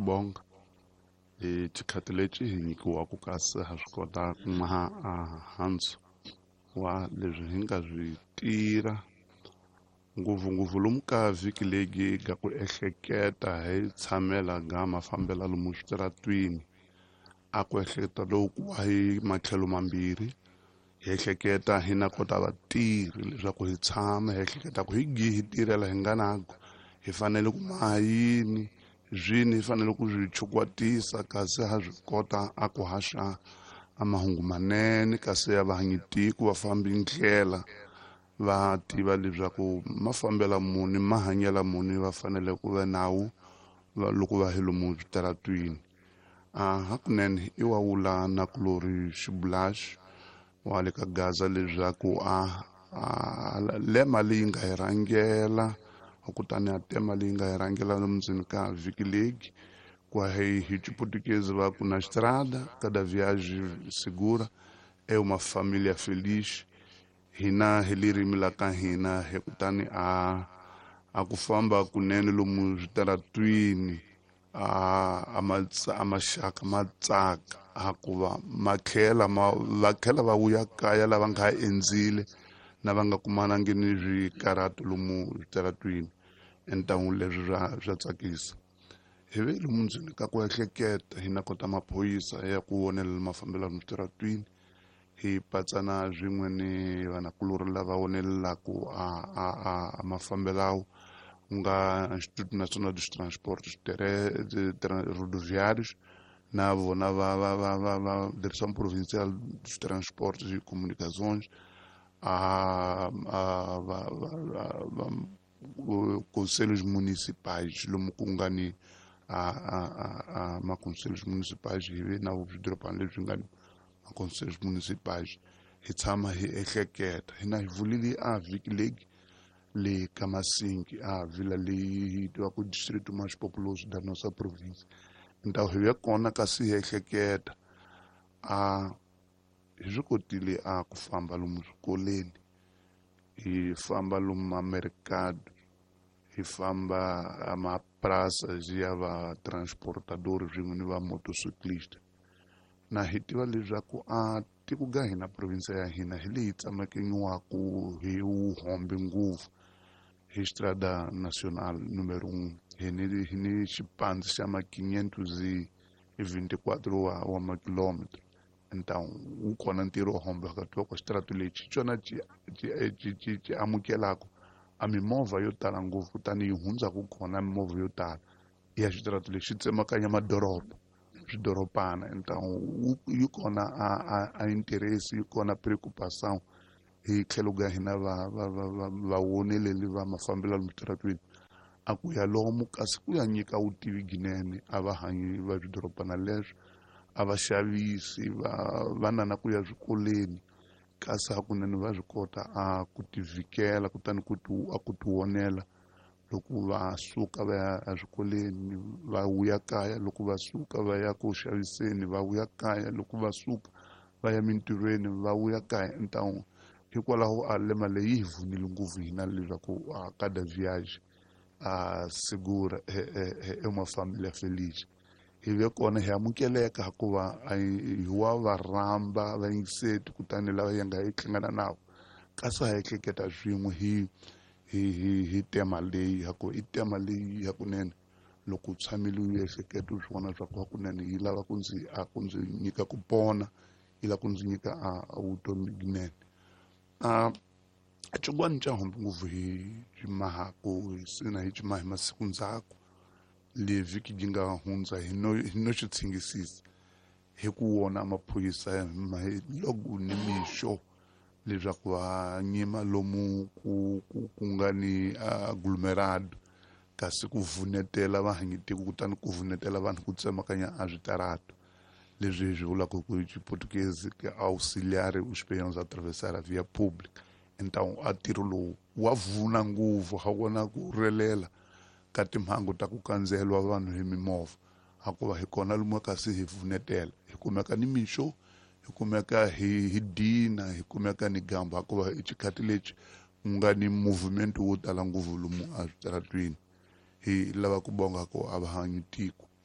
bonga hi xikhathi lexi hi nyikiwaka kasi ha swi kota ku maha a handzu wa leswi hi nga swi tirha ngopfungopfu lomu ka vhiki leyi ga ku ehleketa hi tshamela ga mafambela lomu switaratwini a ku ehleketa loku wa hi matlhelo mambirhi hi ehleketa hi na kota vatirhi leswaku hi tshama hi ehleketa ku hi gi hi tirhela hi nga nago hi fanele ku maha yini zwini hi fanele ku swi chukwatisa kasi ha swi kota a ku haxa a mahungu manene kasi ya vahanyi tiko va fambi ndlela va tiva leswaku mafambela muni mahanyela muni va fanele ku va nawu loko va hi lomu switaratwini. A hakunene i wa wula na kulori xibulaxi wa le ka Gaza leswaku a lema leyi nga hi rhangela kutani a tema leyi nga hi rhangela lomundzeni ka vhiki leyi kwa hi Xiputukezi va ku na estrada cada viagem segura é uma família feliz. Hina hi ririmi la ka hina hi kutani a ku famba kunene lomu switaratwini a maxaka ma tsaka hakuva ma tlhela va tlhela va vuya kaya lava nga endzile na va nga kumanangi ni swikarhato lomu switaratwini. Entangu leswi swa tsakisa. Hi ve lomu ndzeni ka ku ehleketa hi na kota maphorisa ya ku vonelela mafambelo lomu switaratwini hi patsana swin'we ni vanakulorhi lava vonelelaku a mafambelawo ku nga Instituto Nacional dos Transportes Rodoviários na vona va Direção Provincial dos Transportes e Comunicações a va conselhos municipais lomu ku nga ni a maconselhos municipais hi ve na swidorobana leswi nga ni maconselhos municipais hi tshama hi ehleketa hina hi vulile a vhiki leyi le ka Masingi a vila leyi tivaku distrito mais populoso da nossa província. Então hi ve kona kasi hi ehleketa a hi swi kotile a ku famba lomu swikoleni hi famba lomu mamercado hi famba a mapraças ya va transportador swin'we ni va motociclista na hi tiva leswaku a tiko ga hina province ya hina hi leyi tsamekanyiwaku hi wuhombe ngopfu hi Estrada Nacional número 1 hi ni xipandzi xa ma 524 wa makilometro. Então wu kona ntirho wo hombe phakathi wa xitaratu lexi xona xi amukelaka a mimovha yo tala ngopfu kutani yi hundzaka kona mimovha yo tala ya xitaratu lexi xi tsemakanya madoroba swidorobana. Então yi kona a interesse yi kona preocupação hi tlhelo ka hina vawoneleli va mafambelo lomu switaratwini a ku ya lomu kasi ku ya nyika vutivi ginene a va hanyi va swidorobana leswo a va xavisi va nana ku ya swikolweni kasi hakunene va swi kota a ku tivhikela kutani a ku tivonela loko va suka va ya eswikolweni va vuya kaya loko va suka va ya ku xaviseni va vuya kaya loko va suka va ya mintirhweni va vuya kaya. Então hikwalaho a lema leyi hi vunile ngopfu hina leswaku a cada viagem a segura é uma família feliz. Hi ve kona hi amukeleka hikuva hi wa va rhamba vayingiseti kutani lava hi nga hi hlangana navo kasi ha ehleketa swin'we hi tema leyi haku i tema leyi hakunene loko u tshamile u ehleketa u swi vona swa ku hakunene yi lava ku ndzi a ku ndzi nyika ku pona yi lava ku ndzi nyika a vutomi byinene. A xin'wana xa hombe ngopfu hi ximahaku hi sina hi ximaha hi masiku ndzhaku le vhiki yi nga hundza hi no xi tshingisisa hi ku wona maphorisa hi loko ni mixo leswaku va nyima lomu ku nga ni aglomerado kasi ku vunetela vahanyitiko kutani ku vunetela vanhu ku tsemakanya a switarato leswi hi swi vulaka ku Xiputukezi ke auxiliar os peões a atravessar a via pública. Então a ntirho lowu wa vuna ngopfu ha vona ku relela ka timhangu ta ku kandziyeliwa vanhu hi mimovha hakuva hi kona lomu kasi hi vunetela hi kumeka ni mixo hi kumeka hi dina hi kumeka ni gamba hakuva i xikhathi lexi ku nga ni movement wo tala ngopfu lomu a switaratwini. Hi lava ku bonga ku a va hanyi tiko.